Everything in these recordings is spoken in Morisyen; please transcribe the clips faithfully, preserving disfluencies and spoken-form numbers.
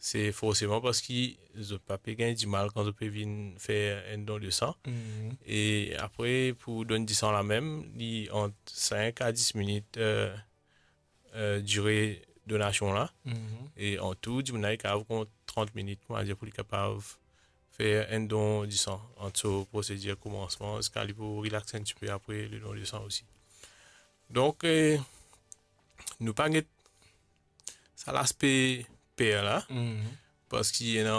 se forseman parski zot pa pe gagn dimal kan zot pe vinn fer enn don de san. Mhm. E apre, pou donn disan la mem, li ant sink a dis minit, eh, eh, dire donasion la. Mhm. E antou, dimoun la li kapav pran trant minit, koumadir, pou li kapav fer enn don disan ant so prosedir koumansman ziska li pou relax enn tipe apre le don disan osi. Donk, eh, nou pa get sa laspe per la, mhm, parski ena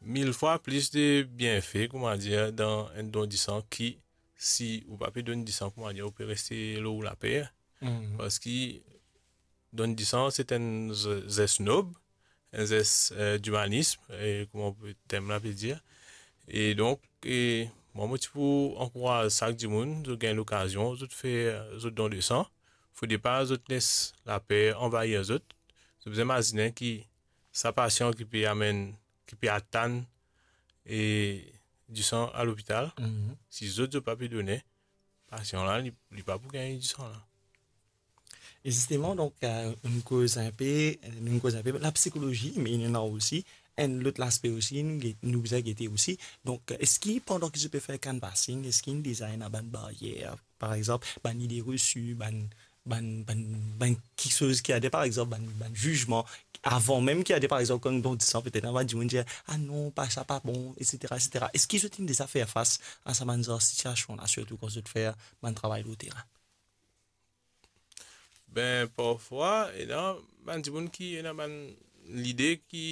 mil fwa plis de bienfe, koumadir, dan enn don disan ki si ou pa pe donn disan, koumadir, ou pe reste lor ou laper. Mhm. Parski donn disan, se enn ze-, zes nob, enn zes, eh, dimanism, eh, kouma tem la pe dir. E donk, eh, mwa, mo ti pou ankouraz sak dimoun, zot gagn lokazion, zot fer zot don de san. Fode pa zot les laper anvahir zot. Zot bizin mazine ki sa pasian ki pe amenn, ki pe atann, eh, disan a lopital, mhm, si zot, zot pa pe done, pasian la, li, li pa pou gagn disan la. E zisteman, donk, eh, nou koz enpe, nou koz enpe lapsikolozi, me ena osi enn lot laspe osi, nou get-, nou bizin gete osi. Donk, eski pandan ki zot pe fer canvassing, eski deza ena bann baryer, par exanp, bann ide resi, bann, bann, bann, bann kiksoz ki ade, par exanp, bann, bann zizman, avan mem ki ade, par exanp, kan donn disan, petet ena bann dimoun dir, "Ah non, pa sa, pa bon," etsetera, etsetera. Eski zot inn deza fer fas a sa bann zar sitiasion la, sirtou kan zot fer bann travay lor terin? Ben, parfwa, ena bann dimoun ki ena bann lide ki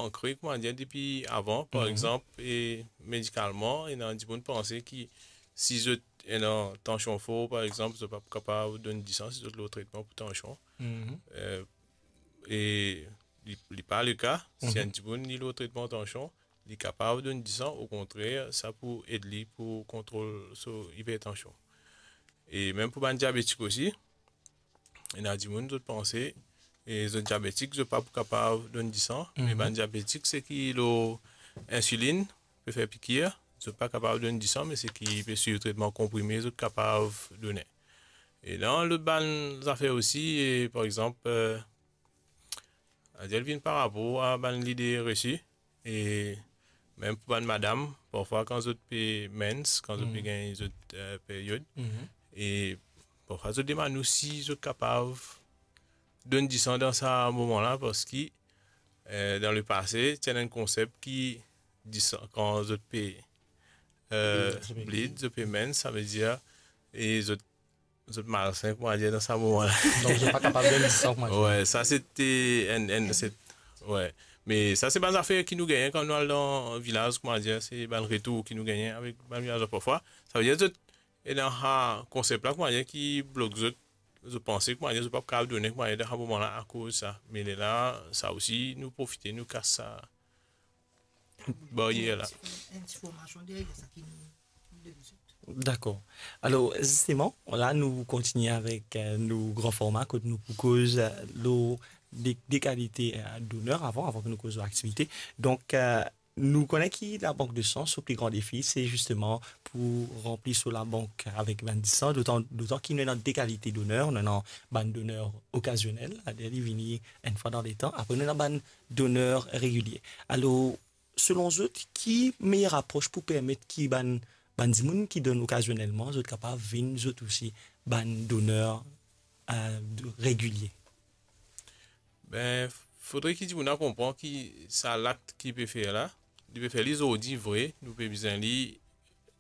ankre, koumadir, depi avan. Par, mhm, exanp, e medikalman, ena dimoun panse ki si zot ena tansion for, par exanp, zot pa pou kapav donn disan si zot lor tretman pou tansion. Mhm. Eh, e li, li pa leka. Si, mhm, enn dimoun li lor tretman tansion, li kapav donn disan, okontrer, sa pou ed li pou kontrol so ipertansion. E mem pou bann diabetik osi, ena dimoun, zot panse, e zot diabetik, zot pa pou kapav donn disan, me, mhm, bann diabetik, seki lor insilinn, pe fer pikir, zot pa kapav donn disan, me seki pe swiv tretman konprime, zot kapav done. E dan lot bann zafer osi, e par exanp, eh, Adir li vinn par rapor a bann lide resi, e mem pou bann madam, parfwa kan zot pe mens, kan zot pe, mhm, gagn zot, eh, period, mhm, e parfwa zot demann nou si zot kapav donn disan dan sa moman la, parski, eh, dan lepase, ti ena enn konsep ki disan, kan zot pe, eh, bleed, zot pe mens, sa vedir, e zot zot malsen, koumadir, dan sa moman la. Donk, zot pa kapav donn disan, koumadir. Wi, sa se te enn, enn, se, wi. Me sa se bann zafer ki nou gagne kan nou al dan vilaz, koumadir, se bann retour ki nou gagne avek bann vilazwa parfwa. Savedir zot ena sa konsep la, koumadir, ki blok zot, zot panse, koumadir, zot pa kapav done, koumadir, dan sa moman la akoz sa. Me lerla, sa osi, nou profite, nou kas sa baryer la. Enn ti formasion deryer sa ki nou, nou donn zot. Dakor. Alor, zisteman, la nou kontigne avek, eh, nou gran forma kot nou pou koz, eh, lor de, de kalite, eh, doner avan, avan ki nou koz lor aktivite. Donk, eh, nou kone ki labank de san, so pli gran defi, se zisteman pou ranpli so labank avek bann disan, dotan, dotan ki nou ena de kalite doner, nou ena bann doner okazionel, savedir li vini enn fwa dan letan, apre nou ena bann doner regilie. Alor, selon zot, ki meyer apros pou permet ki bann, bann dimoun ki donn okazionelman, zot kapav vinn zot osi bann doner, eh, regilie? Ben, fodre ki dimoun la konpran ki sa lakt ki li pe fer la, li pe fer li zordi vre, nou pe bizin li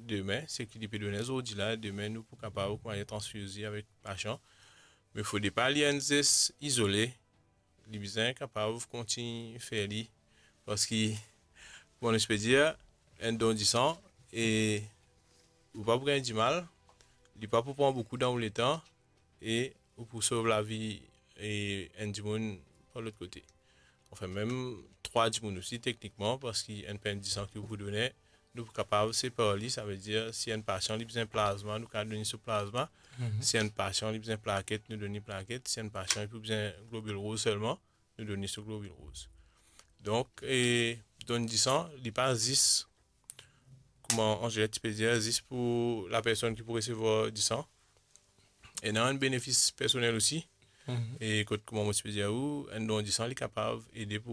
demin, seki li pe donn zordi la, demin nou pou kapav, koumadir, transfirz li avek pasian. Me fode pa li enn zes izole, li bizin kapav kontign fer li, parski, bon, nou pe dir, enn don disan, e ou pa pou gagn dimal, li pa pou pran boukou dan ou letan, e ou pou sov lavi, e enn dimoun par lot kote. Anfin, mem trwa dimoun osi, teknikman, parski enn pint disan ki ou pou done, nou pou kapav separ li, savedir, si enn pasian li bizin plazma, nou kapav donn li so plazma. Mhm. Si enn pasian li bizin plaket, nou donn li plaket. Si enn pasian li pou bizin globil rouz selman, nou donn li so globil rouz. Donk, e, donn disan, li pa zis, kouma Angelique ti pe dir, zis pou lapersonn ki pou resevwar disan. Ena enn benefis personel osi. Mhm. E kot, kouma mo ti pe dir ou, enn don disan, li kapav ede pou